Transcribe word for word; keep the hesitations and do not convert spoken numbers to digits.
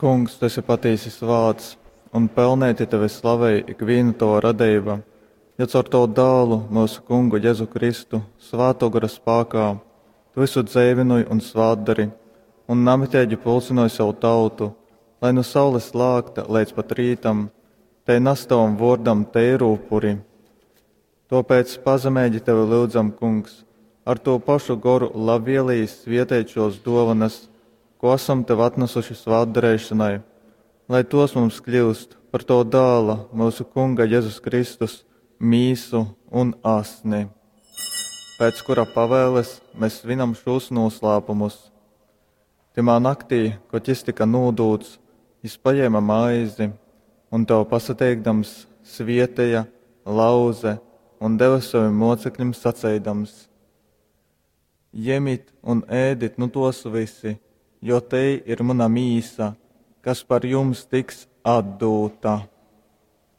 Kungs, tu esi patīsi svāts, un pelneiti tevi slavej ikvīna tova radeiba, jo caur tovu Dālu, myusu Kungu Jezu Kristu, Svātō Gora spākā tu vysu dzeivynoj un svātdori un namiteigi pulcynoj sev tautu, lai nu saules lākta leidz pat rītam tei nas tovam vōrdam teiru upuri. Tōpēc pazemeigi tevi lyudzam, Kungs, ar tū pašu Goru labvieleji svieteit šōs dōvonas, kū asam tev atnasuši svātdareišonai, lai tōs mums kļyust par tova Dāla, myusu Kunga Jezus Kristus, mīsu un asni, pēc kura pavēles mes svinam šūs nūslāpumus. Tymā naktī, kod jys tyka nūdūts, jys pajēme maizi un, tev pasateikdams, svieteja, lauze un deve sovim mōceklim saceidams: Jemit un ēdit nu tōs vysi, jo tei ir muna mīsa, kas par jums tiks atdūta.